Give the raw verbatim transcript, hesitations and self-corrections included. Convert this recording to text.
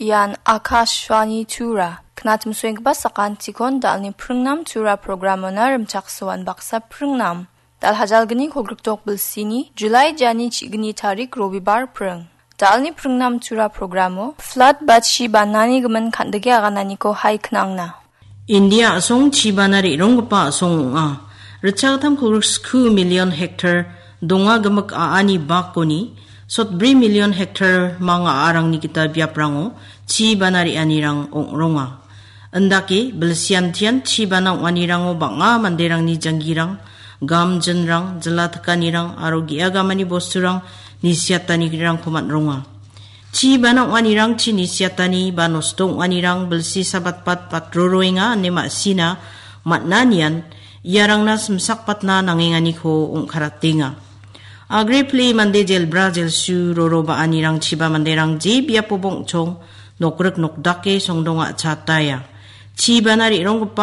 Ian Akashvani Tura. Knatmsoenggipa sakantikon dalni pringnam Tura programona rimchaksoan baksa pringnam. Dal hajalgni kolgrikdok bilsini, July jani chigni tarik Robibar pring. Dalni pringnam Tura programo, flood ba chi banani gimin kandike agananiko hai knangna. India a·song chibana re·ronggipa a·song ong·a. Ritchagittam kolgrik sku million hektar donga gimik a·ani bakoni sotbri million hektar manga a·arangni gita biaprango chibana re·anirang ong·ronga. Indake bilsiantian chibana ong·anirango bang·a manderangni janggirang, gamjinrang, jila tikanirang aro ge·a gamani bosturang nisiatanirangko man·ronga. Chibana ong·anirangchi nisiatani ba nosto ong·anirang bilsi sabatbat batroroenga ine ma·sina man·anian iarangna simsakbatna nangenganiko ong·karatenga. Agre pile mande jelbra jelsu roro ba·anirangchiba manderang je biapoba ong·chong nokrik nokdake songdonga chataya. Chibana re·ronggipa